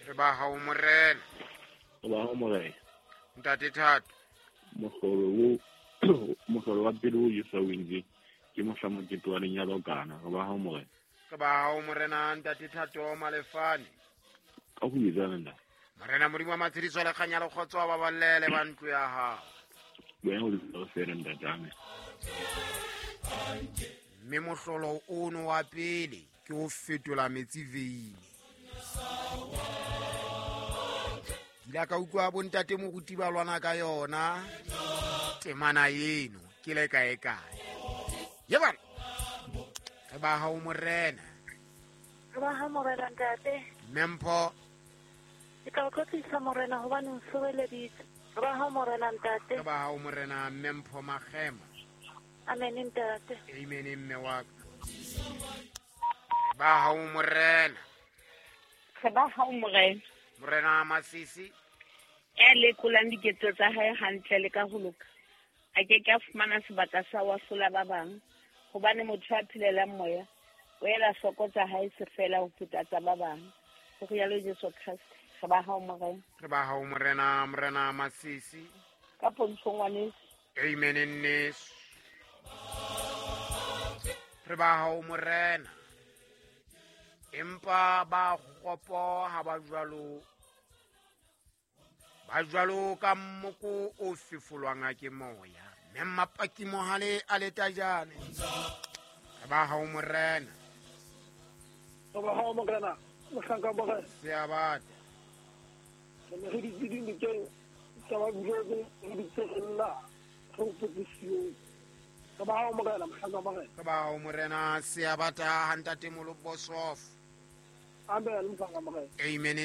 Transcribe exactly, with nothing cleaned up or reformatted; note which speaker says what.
Speaker 1: Re ba hao morena.
Speaker 2: Re ba hao morena.
Speaker 1: Ntate Thato.
Speaker 2: Mohlolo o mohlolo wa pele o Jesu o entse ke mohla mokete wa lenyalo kana. Re ba hao morena.
Speaker 1: Re ba hao morena ntate Thato Malefane.
Speaker 2: Ka ho etsana nna.
Speaker 1: Morena Modimo wa matshediso le kganya le kgotso ba ballele ba ntlo ya hao.
Speaker 2: Wena o le fela ntate ame.
Speaker 1: Mme mohlolo ono wa pele ke ho fetola metsi veine. Ke ile ka utlwa bontate moruti ba lwana ka yona temana eno ke le kae kae. Ye bana. Re ba hao morena.
Speaker 3: Re ba hao morena ntate.
Speaker 1: Mempho.
Speaker 3: Ke tla o tlotlisa morena hobane o nsireleditse. Re ba hao morena ntate.
Speaker 1: Re ba hao morena Mempho Magema.
Speaker 3: Amen ntate.
Speaker 1: Amen mme wa ka. Ba hao morena.
Speaker 4: Re ba hao morena.
Speaker 1: Morena Masisi.
Speaker 4: Ya lekolang diketso tsa hae hantle le ka ho loka. A ke ke a fumana sebaka sa ho ahlola ba bang. Hobane motho a phelelang moya o ela hloko tsa hae se fela ho feta tsa ba bang. Ho rialo Jesu Kreste. Re ba hao morena.
Speaker 1: Re ba hao morena morena Masisi.
Speaker 4: Ka pontsho ngwaneso.
Speaker 1: Amen nneso. Re ba hao morena. Empa ba kgopo ha ba jwalo ba jwalo ka mmoko o fefolwang ke moya. Mme Mapaki Mohale a letajane. Re ba hao morena.
Speaker 5: Re ba hao morena. Mohlanka morena.
Speaker 1: Seabata.
Speaker 5: Re ne re ditse dinokeng tsa ba buletse re ditse re lla re hopotse. Re ba hao morena mohlanka morena.
Speaker 1: Re ba hao morena Seabata ha ntate Molobosof.
Speaker 5: Amen mohlanka morena.
Speaker 1: Amen.